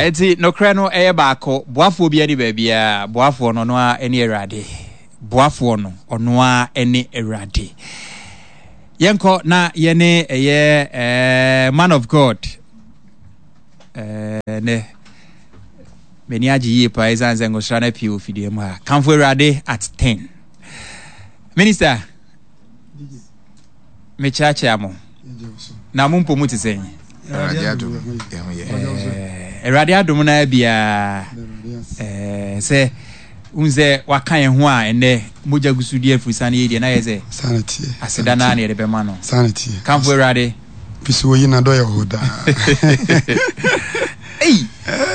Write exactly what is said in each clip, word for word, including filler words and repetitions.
Enti nokorɛ no ɛyɛ baako. Boafoɔ biara ni baabiara. Boafoɔ no, ɔno ara ne Awurade. Boafoɔ no, ɔno ara ne Awurade. Yɛnkɔ na yɛne ɛyɛ eh, man of God. Eh, nɛ m'ani agye yie paa ɛsiane sɛ ngosra no apue wɔ fidua mu ha. Kamfo Awurade at ten. Minister, mekyerɛkyerɛ mo. Na mo mpo mu te sɛn? Awurade adom, yɛho yɛ. Eh, Awurade adom no biara eh, sɛ wohu sɛ waka yɛn ho a, ɛnnɛ mogya gu so di afurisa no yɛ deɛ na yɛ sɛ aseda no a na yɛde bɛma no. Kamfo Awurade. Fisi oyi na dɔ yɛ hɔ daa. Ei,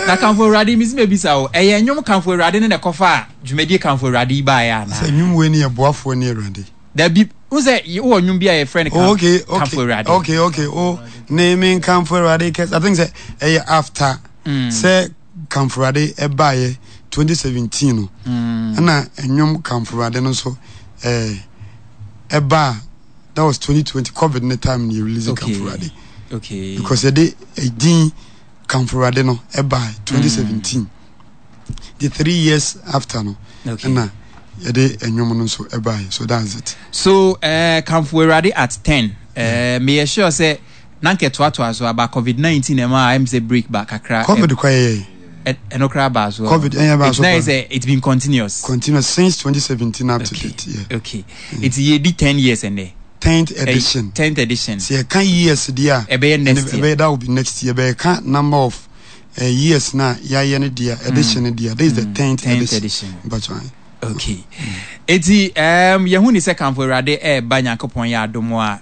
na Kamfo Awurade, mesi mebisa wo, ɛyɛ nnwom Kamfo Awurade ne na ɛkɔfa a dwumadie Kamfo Awurade yi baeɛ anaa? Sɛ nnwom wei ne yɛ boafoɔ ne Awurade. Dabi, wo sɛ wowɔ nnwom bi a yɛfrɛ no Oh, okay, okay, Kamfo Awurade. Okay, okay. Oh, ne me Kamfo Awurade kɛse. I think sɛ ɛyɛ after Mm. sɛ Kamfo Awurade ɛbaeɛ twenty seventeen no. Mm. Ɛna nnwom Kamfo Awurade no nso ɛɛ ɛbaa, that was twenty twenty COVID ne time ne yɛ release Okay. Kamfo Awurade. Okay. Because yɛde ɛdin Kamfo Awurade no ɛbaa twenty seventeen. The three years after no Okay. ɛna yɛde nnwom no nso ɛbaeɛ, so that's it. So uh, Kamfo Awurade at ten. Uh, meyɛ sure sɛ na nkɛ toatoa so aba COVID nineteen ɛma a ɛm sɛ break ba kakra. COVID kɔ yɛyɛ. Ɛ- ɛno koraa baa so. COVID, ɛyɛ baa so It's na paa. sɛ it's been continuous. Continuous since twenty seventeen up to Okay. date. Yeah. Okay. Nti yɛdi ten years ɛnɛ. tenth edition. tenth edition. Sɛ yɛka years deɛ a, ɛbɛyɛ next ɛne- year. Ɛbɛyɛ, that will be next year. Bɛyɛka number of uh, years na yɛayɛ no deɛ, edition no deɛ, this is the tenth tenth edition. Edition. Mpatwa. Okay. Eti um, yɛhu ni sɛ Kamfo Awurade ɛɛba, Nyankopɔn yɛ adom a,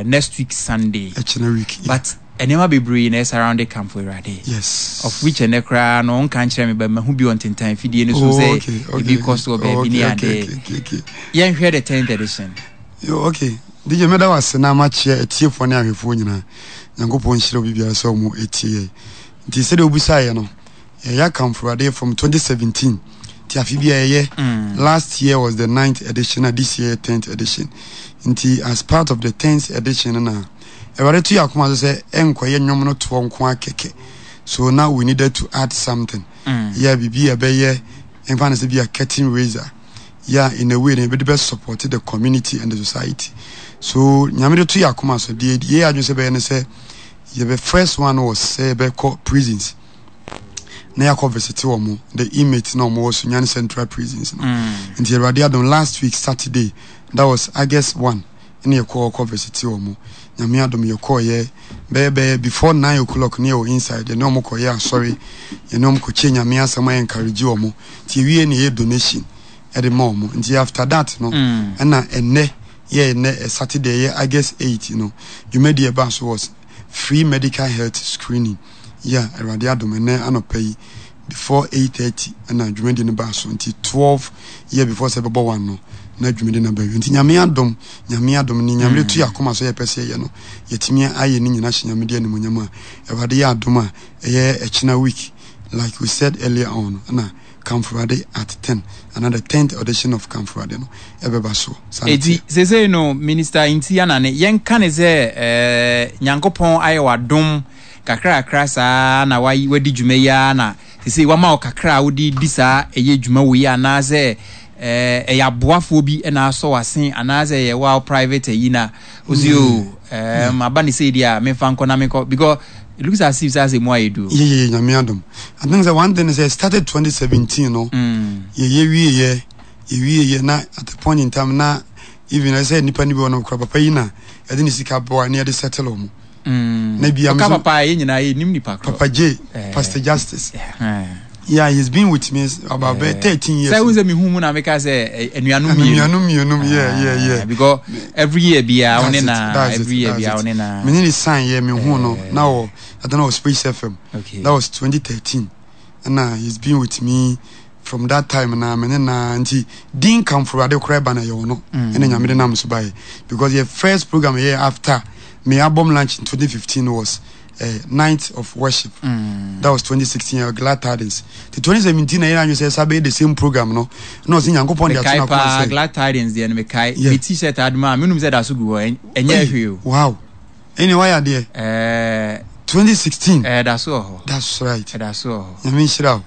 uh, next week Sunday. Ɛkyena week. Yeah. But nneɛma bebree na ɛsurround Kamfo Awurade. Yes. Of which ɛnɛ koraa no nka nkyerɛ me ba mahu bi wɔ ntentan fidie no so Oh, sɛ okay, okay. ebi kɔ so wɔ baabi ne okay, ade. okay, okay, okay. Yɛnhwɛ the tenth edition. Yo, okay. D J, mɛda wase na makyerɛ atiefoɔ ne ahwɛfoɔ nyinaa. Nyankopɔn nhyira obi biara sɛ ɔmo etie yɛ. Nti sɛdeɛ wobisaeɛ no, yɛyɛ Kamfo Awurade from twenty seventeen. Nti afe bi a yɛyɛ. Mm. Last year was the ninth edition, and this year tenth edition. Nti as part of the tenth edition no na Awurade to yɛ akoma so sɛ ɛnkɔyɛ nnwom no toɔ nko akɛkɛ. So now we needed to add something. Mm. Yeah, biribi a ɛbɛyɛ mfa no sɛ bi a curtain raiser. Yeah, in a way, na yɛbɛde bɛ support the community and the society. So Nyame de to yɛ akoma so deɛ, yɛ adwene sɛ bɛyɛ no sɛ yɛbɛ, first one was sɛ yɛbɛkɔ prisons na yɛakɔ visit wɔn, the inmates na wɔn wɔ Sunyani Central Prisons no. Mm. Nti Awurade adom, last week Saturday, that was August one, ɛna yɛkɔ kɔ visit wɔn. Nyame adom, yɛkɔɔyɛ bɛyɛ bɛyɛ before nine o'clock ne yɛwɔ inside. Yɛne wɔn kɔyɛ asɔre, yɛne wɔn kɔkyɛ Nyame asɛm a encourage wɔn. Nti ewie ne yɛ donation ɛde ma wɔn. Nti after that no, Mm. ɛna ɛnɛ yɛ ɛnɛ ɛ Saturday yɛ August eight no, dwumadi ɛbaa so was free medical health screening. Yeah, Awurade adom, ɛnɛ anɔpa yi before eight thirty ɛna dwumadi no baa so. Nti twelve yɛ before sɛ ɛbɛbɔ one no na dwumadi no aba wie. Nti Nyame adom, Nyame adom ni, Nyame de to yɛ akoma so yɛpɛ sɛ yɛyɛ no, yɛtumi ayɛ ne nyinaa hyɛ Nyame de animonyam a Awurade yɛ adom a ɛyɛ ɛkyena week, like we said earlier on, ɛna Kamfo Awurade at ten, another tenth edition of Kamfo Awurade no ɛbɛba so. Saa na Eti ɛteɛ. seesei no, Minister Nti Anane, yɛnka ne sɛ ɛɛ Nyankopɔn ayɛ w'adom kakrakra saa na wayi wadi dwuma yi ara na seesei wama wo kakra a wode di saa ɛyɛ dwuma wei, anaasɛ ɛɛ ɛyɛ aboafoɔ bi ɛna asɔ w'asen, anaasɛ ɛyɛ wa private ayi na osi o ɛɛm aba ne sei deɛ a memfa nkɔ na menkɔ, because it looks as if sɛ asɛ mu ayɛ duro. yeah yeah yeah, Nyame adom. I think sɛ one thing is sɛ started twenty seventeen no, Mm. yɛyɛ wieyɛ, yɛwieyɛ na at a point in time na even ɛsɛ nipa no bi wɔ no kora papa yi na yɛde ne sika boa ne yɛde settle ɔmo. Mm. Na bia Ɔka me so- papa a, yɛn nyinaa yɛnim nipa korɔ. Papa J, Eh. Pastor Justice. Eh. Yeah, he's been with me about Eh. thirteen years. Sɛ wo sɛ mehu mu na meka sɛ ɛ, anuanom mmienu. Anuanom mmienu, yeah yeah yeah Ah, because every year biara wo ne na That's it, every year that's biara it. wo ne na. Me ne ne sign yɛ, me hu no Eh. na wɔ, I don't know, Space F M. Okay. That was twenty thirteen, ɛna he's been with me from that time na me ne na nti din Kamfo Awurade koraa ba na yɛ wɔ no. Mm. Ɛna Nyame de nam so baeɛ, because yɛ first program yɛ after me album launch in twenty fifteen was uh, Night of Worship. Mm. That was twenty sixteen, uh, Glad Tidings. The twenty seventeen na yɛn anwene sɛ ɛsa bɛyɛ the same program no na ɔsɛ Nyankopɔn de ato Mekae n'akoma paa sɛ Glad Tidings deɛ no mekae. Yeah. Me T-shirt adoma a menum sɛ da so gu hɔ, ɛn- ɛnyɛ hwee o. Wow, ɛne wayɛ adeɛ. Ɛɛ, twenty sixteen. Ɛda so wɔ hɔ. That's right. Ɛda so wɔ hɔ. Nyame nhyira wo.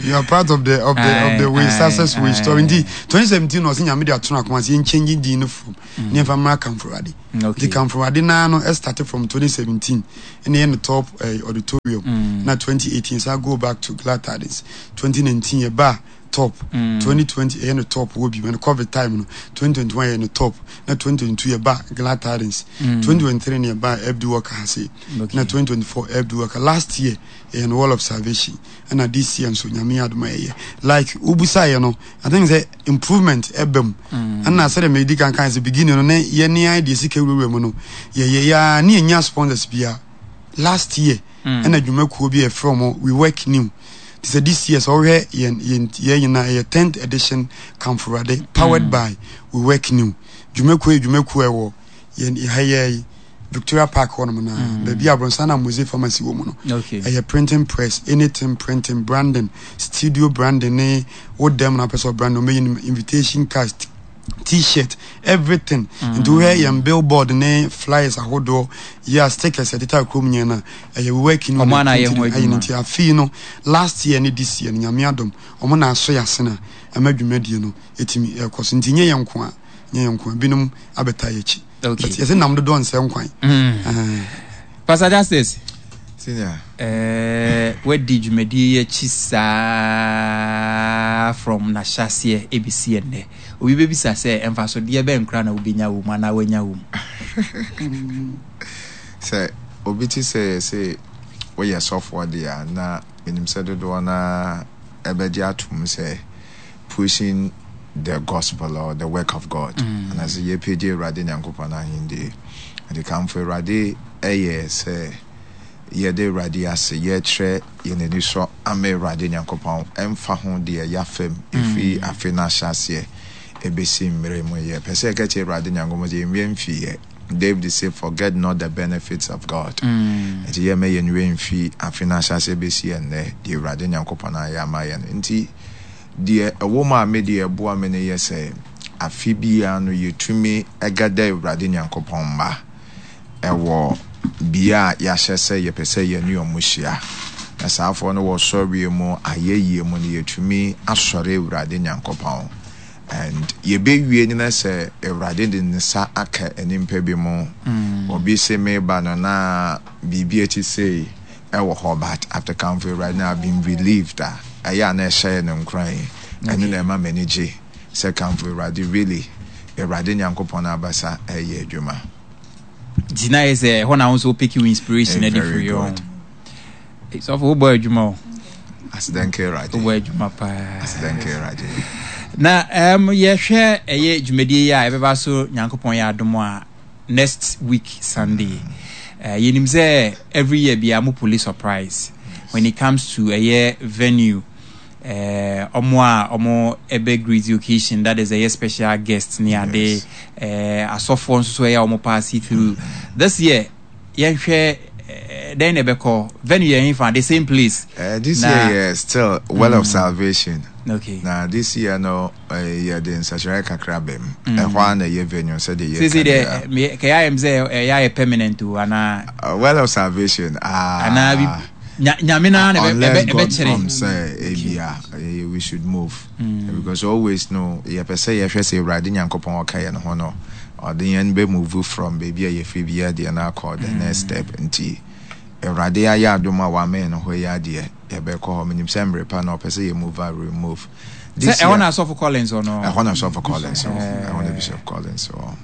You are part of the of the of the way success way story. Nti twenty seventeen na ɔsɛ Nyame de ato no akoma sɛ yɛnkyɛngye din no from ne yɛmfa mmra Kamfo Awurade. Okay. Nti Kamfo Awurade naa no started from twenty seventeen, ɛna yɛ no top uh, auditorium mm. Na twenty eighteen sa go back to Glad Tidings. twenty nineteen yɛba top mm. twenty twenty ɛyɛ no top wɔ bi no COVID time no. twenty twenty-one ɛyɛ no top, na twenty twenty-two yɛba Glad Tidings mm. twenty twenty-three ne yɛba F D Walker ha se okay. Na twenty twenty-four F D Walker. Last year ɛyɛ no Wall of Salvation, ɛna this year nso Nyame adom ɛyɛ like wobusaeɛ no. I think sɛ improvement ɛba mu, ɛna sɛdeɛ medi kan kan sɛ beginning no ne yɛne ayɛ deɛ sika wurawura mu no, yɛyɛ yɛa ne yɛnya sponsors bia. Last year ɛna dwumakuo bi a yɛfrɛ mo We Work New. Te sɛ this year, sɛ wohwɛ yɛn yɛn yɛn nyinaa, ɛyɛ tenth edition Kamfo Awurade powered mm. by We Work New. Dwumakuo yɛ dwumakuo a ɛwɔ yɛn ha yɛ yi, Victoria Park hɔnom na mm. baabi a abrɔnsan na Mose Pharmacy wɔ mu no. Okay. Ɛyɛ printing press, anything printing, branding, studio branding, ne wo dɛm na apɛ sɛ branding ɔmɛyi no, invitation cards, T-shirt, everything. Nti wohwɛ yɛn billboard ne flyers ahodoɔ yɛ a, stickers yɛteta kurom nyɛ no, ɛyɛ We Work New. Ɔmo ana ayɛ ho ayɛ adwuma. Nti afei no, last year ne this year no, Nyame adom, ɔmo na aso yɛ ase na ɛma dwumadie no ɛtumi ɛkɔ so. Nti nyɛ yɛn nko a, nyɛ yɛn nko a, binom abɛta yɛ akyi. Okay. But yɛsɛ nam dodoɔ nsɛ nkwan. Mm. Eh, Pastor Justice, Senior. eh, wadi dwumadie yi akyi saa from n'ahyɛaseɛ ɛbɛsi ɛnnɛ. Obi bɛbisa sɛ mfasodeɛ bɛn koraa na wobɛnya wɔ mu anaa woanya wɔ mu? Sɛ obi te sɛ yɛsɛ woyɛ sɔfoɔ deɛ a, na menim sɛ dodoɔ no ɛbɛgye atom sɛ pushing the gospel or the work of God mm. anaasɛ yɛpagye Awurade Nyankopɔn ahendie. Nti Kamfo Awurade ɛyɛ sɛ yɛde Awurade ase, yɛkyerɛ yɛn ani sɔ ama Awurade Nyankopɔn ɛmfa ho deɛ yɛafam ɛfiri afe no ahyɛ aseɛ ɛbɛsi mmerɛ mu. Yɛpɛ sɛ yɛka kyerɛ Awurade Nyankopɔn sɛ yɛnwerɛ mfiiɛ. David say, "Forget not the benefits of God." Nti yɛmɛ yɛn werɛ mfi afe no ahyɛ aseɛ bɛsi ɛnnɛ deɛ Awurade Nyankopɔn ayɛ ama yɛn. Nti deɛ ɛwɔ mu a me deɛ ɛboa me no yɛ sɛ afe biara no yɛtumi ɛgada Awurade Nyankopɔn mma ɛwɔ bea a yɛahyɛ sɛ yɛpɛ sɛ yɛne ɔmo hyia, na saafoɔ no wɔ sɔreɛ mu, ayɛyie mu no, yɛtumi asɔre Awurade Nyankopɔn and yɛbɛwie no na sɛ Awurade de ne nsa aka nnipa bi mu. Obi se meba no na biribi akyi sei ɛwɔ hɔ, but after Kamfo Awurade na I've been relieved a, ɛyɛ a na ɛhyɛ no nkuran. Ɛno na ɛma m'ani gye sɛ Kamfo Awurade really, Awurade Nyankopɔn abasa ɛyɛ adwuma. Nti na yɛ sɛ ɛhɔ na wo nso wopeke wo inspiration Eh, ade very firi hɔ. good. Sɔfo, wobɔ adwuma o. Asidanke Awurade. Wobɔ adwuma paa. Asidanke Awurade. Na um, yɛhwɛ ɛyɛ dwumadie yi a ɛbɛba so, Nyankopɔn yɛ adom a, next week Sunday, uh, yɛnim sɛ every year bia mo pull surprise when it comes to ɛyɛ venue, eh, ɔmo a ɔmo ɛbɛ greet the occasion, that is ɛyɛ special guest ne ade. Yes. eh, asɔfoɔ nso so ɛyɛ a ɔmo pass it through. This year yɛnhwɛ eh, dɛn na ɛbɛkɔ? Venue yɛ hefa? The same place? Uh, this Na- year, yeah, still Well of Salvation. Okay na this year no, uh, yɛde nsakyerɛ kakra bɛm. Ɛhɔ a na ɛyɛ venue sɛdeɛ sese yɛka deɛ no. me- kɛyɛ ayɛ m sɛ ɛyɛ ayɛ permanent o anaa? Uh, well of Salvation, ah, anaa bi nya- Nyame naa na ɛbɛ- unless ɛbɛ- God ɛbɛkyerɛ. comes sɛ ebia eh, we should move mm. because always no yɛpɛ sɛ yɛhwɛ sɛ Awurade Nyankopɔn ɔka yɛn ho no, ɔde yɛn bɛ move from baabi a yɛfiri biara deɛ no akɔ the next step. Nti Awurade ayɛ adom a wamɛn no hɔ yi adeɛ, yɛbɛkɔ hɔ. Menim sɛ mmerɛ pa na ɔpɛ sɛ yɛ move a, we move. Sɛ ɛhɔ na asɔfo Collins ɔno? Ɛhɔ na Sɔfo Collins wɔ, ɛhɔ na Bishop Collins wɔ.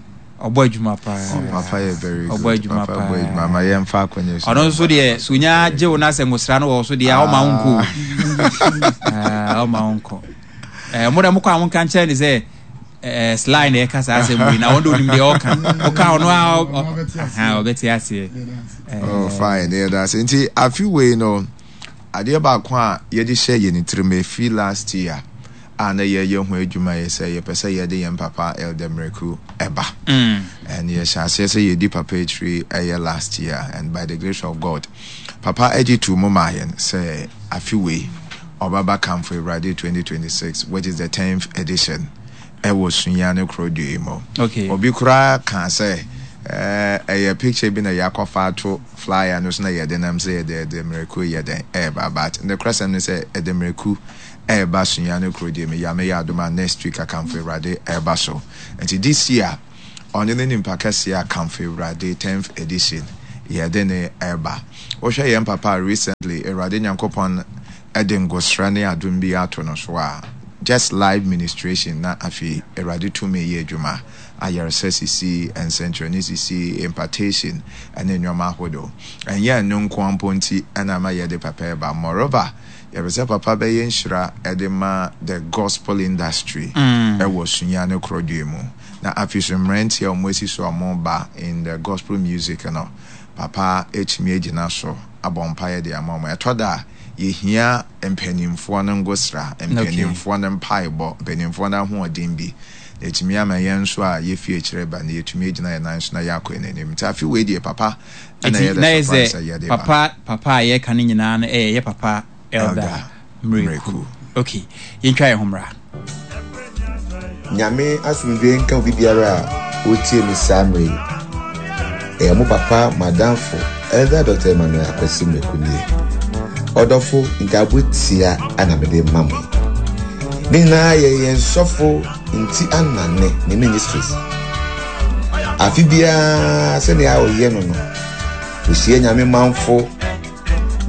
Ɔbɔ adwuma paa. Papa yɛ very good. Ɔbɔ adwuma Papa paa. bɔ adwuma ma yɛmfa akɔnyɛ so. Ɔno nso deɛ, so onya gye wo na sɛ ngosra no wɔ so deɛ a, ɔma wo nkɔ o. Ah, ɔma wo nkɔ. Eh, mo dɛ mokɔ a, monka nkyerɛ ne sɛ eh, sly na ɛka saa asɛm wei na ɔno de onim deɛ ɔka. Woka ɔno a ɔ- ɔ- Ɔbɛte aseɛ. Aha, ɔbɛte aseɛ. Oh, fine. Yeah, that's nti afi wei no, adeɛ baako a yɛde hyɛ yɛn tirim efi last year a na yɛyɛ ho adwuma yɛ sɛ yɛpɛ sɛ yɛde yɛn papa Elder Miracle ɛba. Mm. And yɛhyɛ aseɛ sɛ yɛdi papa akyiri ɛyɛ last year, and by the grace of God, papa agye to mu maa yɛn sɛ afi wei ɔbɛba Kamfo Awurade twenty twenty-six, which is the tenth edition, ɛwɔ Sunyani kurodua yi mu. Okay. Obi koraa kaa sɛ Eh, ɛyɛ picture bi na yɛakɔfa ato flyer no so na yɛde nam sɛ yɛde Elder Miracle yɛ dɛn ɛɛba, but nokorɛsɛm ne sɛ Elder Miracle ɛɛba Sunyani kuro deɛ me Nyame yɛ adom a next week Akamfo Awurade ɛɛba so. Nti this year ɔno ne nipa kɛseɛ Akamfo Awurade tenth edition yɛde ne ɛɛba. Wohwɛ yɛn papa a recently Awurade Nyankopɔn ɛde ngosra ne adom bi ato no so a, just live ministration na afei Awurade tumi yɛ adwuma, ayaresa sisi, nsɛnkyerɛnne sisi, impartation ne nneɛma ahodoɔ. Ɛnyɛ ɛno nko ara mpo nti na ama yɛde papa ɛba. Moreover, yɛpɛ sɛ papa bɛyɛ nhyira de ma the gospel industry ɛwɔ Sunyani korodua mu. Na afei so mmeranteɛ a wɔasi so a wɔreba in the gospel music no, papa atumi agyina so abɔ mpaeɛ de ama wɔn. Ɛtɔ da a, yɛhia mpanimfoɔ no ngosra, mpanimfoɔ no mpaebɔ, mpanimfoɔ no ahoɔden bi, na ɛtumi ama yɛn nso a yɛfi akyire ba no, yɛtumi agyina yɛn nan so na yɛakɔ yɛn anim. Nti afe wei deɛ papa ɛna Nti yɛ na the yɛ surprise sɛ a yɛde ba. Papa papa a yɛka no nyinaa no ɛyɛ yɛ papa Elder Elder Miracle. Miracle. Okay, yɛntwa yɛn ho mmra. Nyame asomdwoe nka obi biara a otie me saa mmerɛ yi. Ɛyɛ mo papa, mo adamfo, Elder Doctor Emmanuel Akwasi Miracle nie. Ɔdɔfo, nkaebɔ tia na mede ma mo yi. Ne nyinaa yɛ yɛn sɔfo Nti Anane ne ministries. Afe biara sɛnea ɔyɛ no no, ohyia Nyame manfo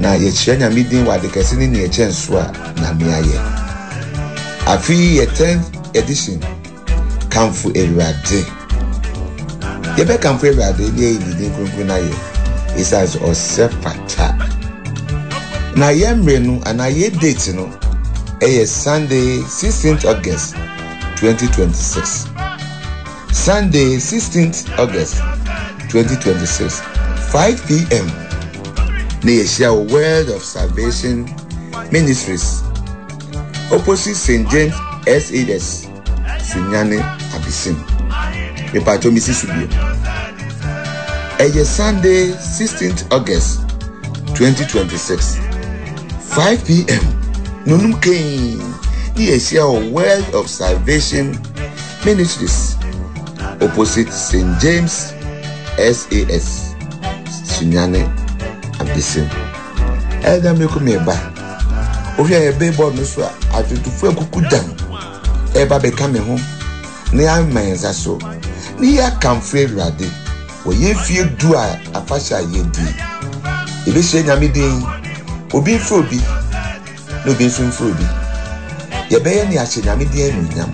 na yɛkyerɛ Nyame din wɔ ade kɛse ne nea ɛkyɛn so a Nyame ayɛ. Afe yi yɛ tenth edition Kamfo Awurade. Yɛbɛkamfo Awurade ne yɛayi ne din kronkron no ayɛ esiane sɛ ɔsɛ fata. Na yɛn mmerɛ no anaa yɛn date no ɛyɛ Sunday sixteenth August twenty twenty-six. Sunday sixteenth August twenty twenty-six, five p m na yɛhyia wɔ World of Salvation Ministries, opposite Saint James S H S, Sunyani Abesim. Mepatwa mi si so bio. Ɛyɛ Sunday sixteenth August twenty twenty-six, five p m nonum kɛn ne yɛhyia wɔ World of Salvation Ministries, opposite Saint James S A S, Sunyani Abesim. Ɛda mi ko mi ba. Wohwɛ yɛ billboard no so a, adwotofo akuku dam ɛba bɛka me ho na yɛama yɛn nsa so na yɛakamfo Awurade wɔ yɛn fie du a afahyɛ a yɛdi. Yɛbɛhyia Nyame din, obi mfrɛ obi na obi nso mfrɛ obi. Yɛbɛyɛ ne ahyɛ Nyame din anuonyam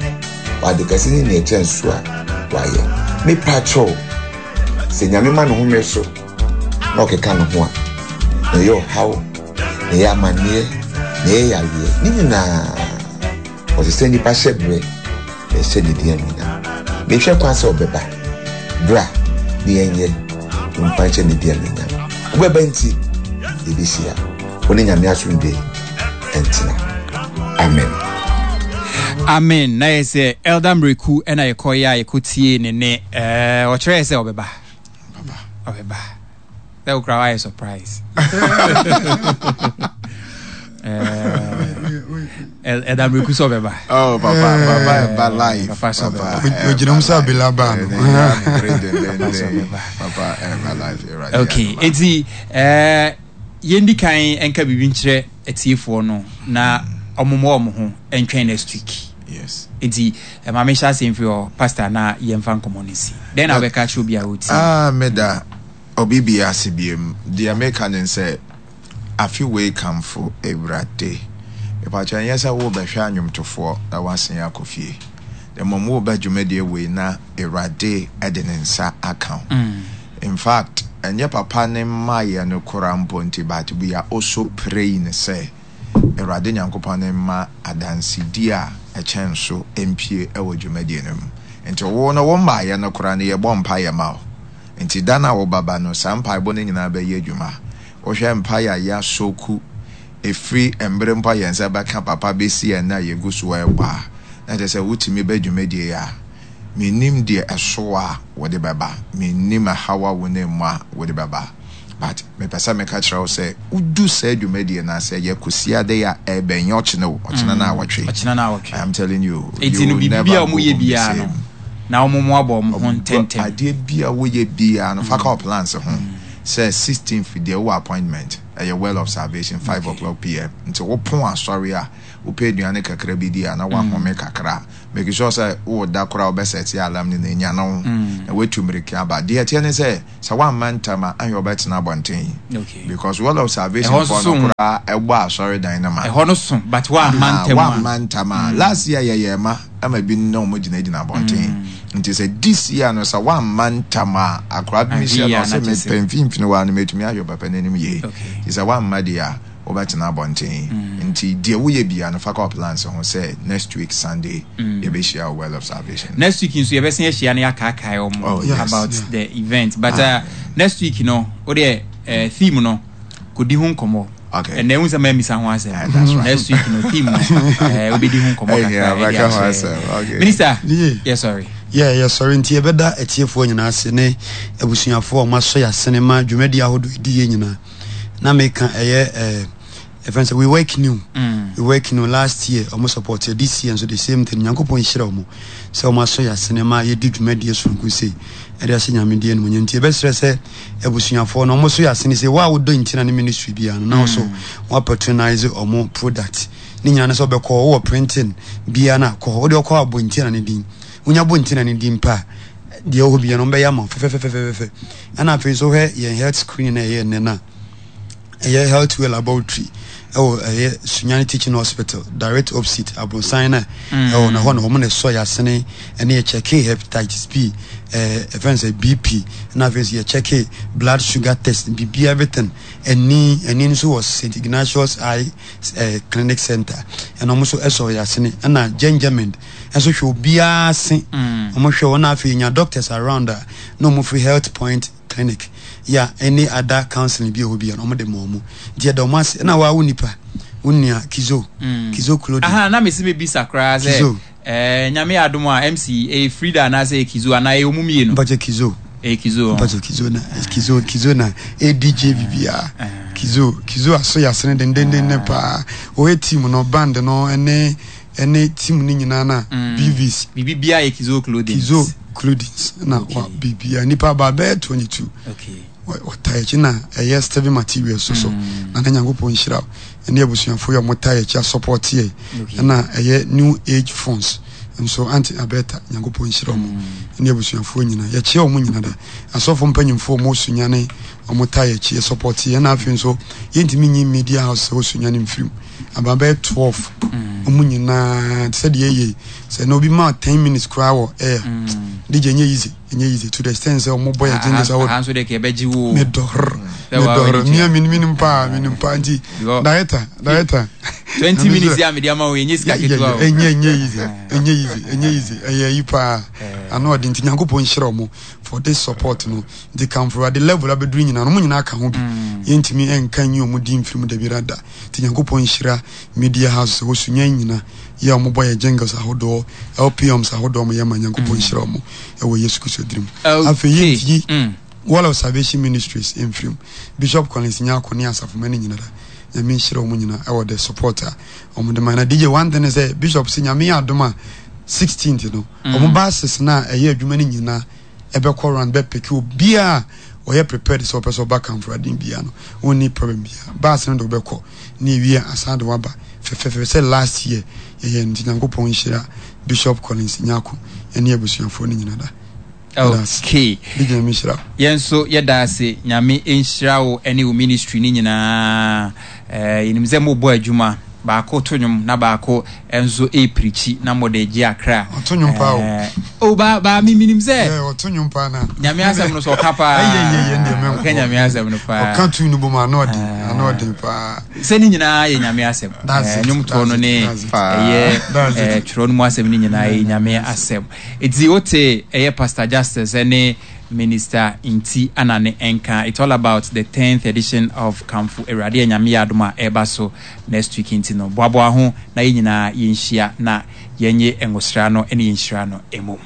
wɔ ade kɛse ne nea ɛkyɛn so a wayɛ. Mepa kyɛw, sɛ Nyame ma ne home so na ɔkeka ne ho a, na ɛyɛ ɔhaw, na ɛyɛ amanneɛ, na ɛyɛ yareɛ ne nyinaa, ɔsɛ sɛ nnipa hyɛ berɛ na ɛhyɛ ne din anuonyam. Mehwɛ kwan sɛ ɔbɛba bra ne yɛnyɛ mfa nhyɛ ne din anuonyam. Wobɛba nti yɛbɛhyia wo ne Nyame asomdwe ɛntena. Amen. Amen. Na yɛ sɛ Elder Miracle ɛna yɛkɔyɛ a yɛkɔtie ne ne ɛɛ ɔkyerɛ sɛ ɔbɛba. Ɔbɛba sɛ wokora wayɛ surprise. Ɛɛ Elder Miracle sɛ ɔbɛba. Oh, papa, papa, ɛba live. Papa sɛ ɔbɛba. Ogyina mu sɛ abela baa no. Papa, ɛba live. Awurade Okay, adom. Eti ɛɛ yɛndi kan nka biribi nkyerɛ atiefoɔ no na ɔmomɔ ɔmo ho ntwɛn next week. Yes. Nti maame hyɛ ase mfiri hɔ, Pastor, na yɛmfa nkɔmmɔ no si dɛn na wobɛka kyerɛ obi a wɔtie? Ah, meda obi bi ase biem. Deɛ meka ne sɛ afe wei Kamfo Awurade. Mepakyɛ, ɛnyɛ sɛ wobɛhwɛ anwomtofoɔ na woasen akɔ fie. Na mmom woba dwumadie wei na Awurade de ne nsa aka wo. In fact, ɛnyɛ papa ne mmaeɛ no koraa mpo nti, but we are also praying sɛ Awurade Nyankopɔn ne mma adansedie a ɛkyɛn so mpie ɛwɔ dwumadie no mu. Nti wo no wo mmaeɛ no koraa no, yɛbɔ mpaeɛ ma wo. Nti da no a wobaba no, saa mpaebɔ no nyinaa bɛyɛ adwuma. Wohwɛ mpaeɛ a yɛasɔku ɛfiri mmerɛ mpo a yɛn nsa bɛka papa bɛsi ɛnnɛ a yɛgu so ɛrebɔ a, na kyerɛ sɛ wotumi bɛ dwumadie yi a, mennim deɛ ɛso a wode bɛba, mennim ɛhaw a wonam mu a wode bɛba, but mepɛ sɛ meka kyerɛ wo sɛ wodu saa dwumadie no ase, ɛyɛ Kwasiada yi a ɛbɛn, nyɛ ɔkyena o, ɔkyena no awɔtwe. Ɔkyena no awɔtwe. I am telling you. Enti no biribi a ɔmo yɛ biara no Na wɔn mo abɔ wɔn ho ntɛntɛm. Adeɛ bi a woyɛ biara no, fa ka plans ho sɛ sixteenth deɛ, wowɔ appointment, ɛyɛ Well of Salvation, five o'clock P M. Nti wopon asɔre a, wopɛ aduane kakra bi di a na woahome kakra, make sure sɛ wowɔ da koraa wobɛsɛte alarm no na ɛnya no na woatu mmirika aba. Deɛ ɛteɛ ne sɛ sɛ woamma ntam a, ahwɛ wobɛtena abɔnten Okay. because Well of Salvation Ɛhɔ nso foɔ so no koraa ɛbɔ asɔredan no ma. Ɛhɔ no so, but woamma ntɛm a. Woamma ntam a, last year yɛyɛ ma ama bi na ɔmo gyinagyina abɔnten. Nti sɛ this year no sɛ woamma ntam a, akora bi mehyia no Ahwɛ ɔsɛ yie a na kyerɛ sɛ- mepɛ mfimfini hɔ a no mɛtumi ahwɛ papa n'anim yie. Okay. Nti sɛ woamma deɛ a, wobɛtena abɔnten. Nti deɛ woyɛ bia no, fa kɔ plans ho sɛ next week Sunday yɛbɛhyia wɔ Well of Salvation. Next week nso yɛbɛsen ahyia no, yɛakaakae ɔmo Oh, yes. about Yeah. the event, but uh, next week no, wodeɛ uh, theme no kɔdi ho nkɔmmɔ. Okay. Ɛnna ehu sɛ mɛmisa ho asɛm. Ah, that's right. Next week no, theme no, eh, wobɛdi ho nkɔmmɔ Hey, kakra yeah, ɛde mɛka ho akyerɛ. asɛm. Okay. Minister. Yeah. Yeah, sorry. Yɛ yɛsɔre nti yɛbɛda atiefoɔ nyinaa ase ne abusuafoɔ a ɔmasɔ yɛ asene ma dwumadi ahodoɔ ɛdi yɛ nyinaa na meka ɛyɛ ɛɛ ɛfɛn sɛ We Work New. Mm. We Work New, last year ɔmo support yɛ, this year nso the same thing. Nyankopɔn nhyira ɔmo sɛ ɔmo asɔ yɛ asene ma yɛdi dwumadie soronko sei ɛde ahyɛ Nyame di animuonyam. Nti yɛbɛsrɛ sɛ abusuafoɔ no ɔmo so yɛ asene sɛ wo a wodɔ ntina ne ministry biara no na wo so wa patronize ɔmo product ne nyinaa no sɛ wobɛkɔ wowɔ printing biara no a, kɔ hɔ wode ɔkɔ abɔ ntina ne din, wonya bɔ ntina ne din pa a, deɛ ɛwɔ hɔ biara no ɔmbɛyɛ ama wo fɛfɛfɛfɛfɛ. Ɛna afei nso hwɛ yɛn health screening na ɛyɛ nnɛ no a ɛyɛ Health Way Laboratory ɛwɔ ɛyɛ Sunyani Teaching Hospital, direct opposite abronsan na ɛwɔ na hɔ na wɔn na ɛsɔ yɛ asene ɛne yɛ check hepatitis B, ɛɛ ɛfɛn sɛ B P, ɛna afei nso yɛ check blood sugar test, bibi everything. Ɛni ɛni nso wɔ Saint Ignatius Eye ɛɛ Clinic Center, ɛna wɔn nso ɛsɔ yɛ asene, ɛna Gengermend ɛnso hwɛ obiara se wɔn hwɛ wɔn. Afei nya doctors around a na wɔn firi Health Point Clinic ya, any other counseling bi a ɛwɔ bi a wɔn de ma wɔn. Nti ɛda wɔn ase. Ɛna waa wo nipa wo nua Kizo, Kizo Clothing. Aha na mesi mebisa koraa sɛ Kizo. eh, Nyame yɛ adom a, M C ɛyɛ Frida anaasɛ ɛyɛ Kizo anaa ɛyɛ ɔmu mmienu? Mpakyɛ, Kizo. Ɛyɛ Kizo. Mpakyɛ, Kizo na Kizo Kizo na A D J bibia. Kizo Kizo aso yɛ asene dendenden ne paa. Ɔyɛ team no, band no, ɛne ɛne team no nyinaa na B Vs. Biribi biara yɛ Kizo Clothing. Kizo Clothing na wa bibia nipa ba bɛyɛ twenty two. Okay. Wɔta akyi na ɛyɛ Steven Materials so so na ne Nyankopɔn nhyira wo ɛne abusuafoɔ yi a wɔta akyi asupport yɛ. Okay. Ɛna ɛyɛ New Age Phones nso, Aunty Abeta, Nyankopɔn nhyira wɔn ɛne abusuafoɔ nyinaa. Yɛkyia wɔn nyinaa da asɔfo mpanyimfoɔ a wɔn Sunyane wɔn ta akyi support yɛ. Ɛna afei nso yɛntumi nyi media house sɛ wɔ Sunyane mfirim aba bɛyɛ twelve, wɔn nyinaa te sɛ deɛ ɛyɛ sɛ na obi ma ten minutes koraa wɔ air. D J, ɛnyɛ easy, ɛnyɛ easy to the extent sɛ wɔn bɔ yɛ jingles awɔ. Aha nso deɛ kɛ ɛbɛgye wo. Medɔrɔ. Sɛ wa medɔrɔ w'ani mia tua. mi minim paa, minim paa nti Because- director, director. twenty minutes yɛ a mede ama wo, ɛnyɛ sika ketewa o. Ɛnyɛ ɛnyɛ easy, ɛnyɛ easy, ɛnyɛ easy, ɛyɛ yi paa ano ɔde. Nti Nyankopɔn nhyira ɔmo for this support no. Nti kamfo ade level abɛduru nyinaa no, ɔmo nyinaa ka ho bi. Yɛntumi ɛnka nyi ɔmo di mfiri mu dabiara da. Nti Nyankopɔn nhyira media house sɛ wɔsunya nyina yɛ a ɔmo bɔ yɛ jingles ahodoɔ, L P Ms ahodoɔ ɔmo yɛ ma. Nyankopɔn nhyira ɔmo ɛwɔ Yesu Kristo dirim. Afei yɛntumi Mm. Wall of Salvation Ministries mfirim, Bishop Collins Nyako ne asafoma no nyinara, Nyame nhyira ɔmo nyinaa ɛwɔ the support a ɔmo de ma. Na D J, one thing is sɛ Bishop sɛ Nyame yɛ adom a, sixteenth no ɔmo buses no a ɛyɛ adwuma no nyinaa ɛbɛkɔ round bɛpick obiaa ɔyɛ prepared sɛ ɔpɛ sɛ ɔba kamforaden bia no, ɔnni problem bia. Bus no de wobɛkɔ ne ewie asan de waba fɛfɛɛfɛ sɛ last year yɛyɛ no. Nti Nyankopɔn nhyira Bishop Collins Nyako ɛne abusuafoɔ no nyina da. Okay. D J, Nyame nhyira wo. Yɛn nso yɛda ase. Nyame nhyira wo ne wo ministry no nyinaa. Eh, yɛnim sɛ mobɔ adwuma baako to nnwom na baako nso ɛpreach na mode gye akra. Ɔto nnwom paa o. Eh, o ba ba mi minim sɛ Yeah, ɔto nnwom paa na Nyame asɛm no so ɔka paa. Ɛyɛ, yɛ, yɛ, ndeɛ mɛnkɔ. Ɔka Nyame asɛm no paa. Ɔka tu no bom, ano ɔden, ano ɔden paa. Sɛ ne nyinaa yɛ Nyame asɛm. That's Eh, it, nnwomtoɔ no ne that's it. ɛyɛ That's it. eh, twerɛ no mu asɛm no nyinaa yɛ Nyame asɛm. Ɛti wote ɛyɛ Pastor Justice ɛne Minister Nti ana ne ɛnka. It's all about the tenth edition of Kamfo Awurade a Nyame yɛ adom a ɛreba so next week. Nti no boaboa ho na yɛn nyinaa yɛnhyia na yɛnyɛ ngosra no ne yɛnhyira no mmom.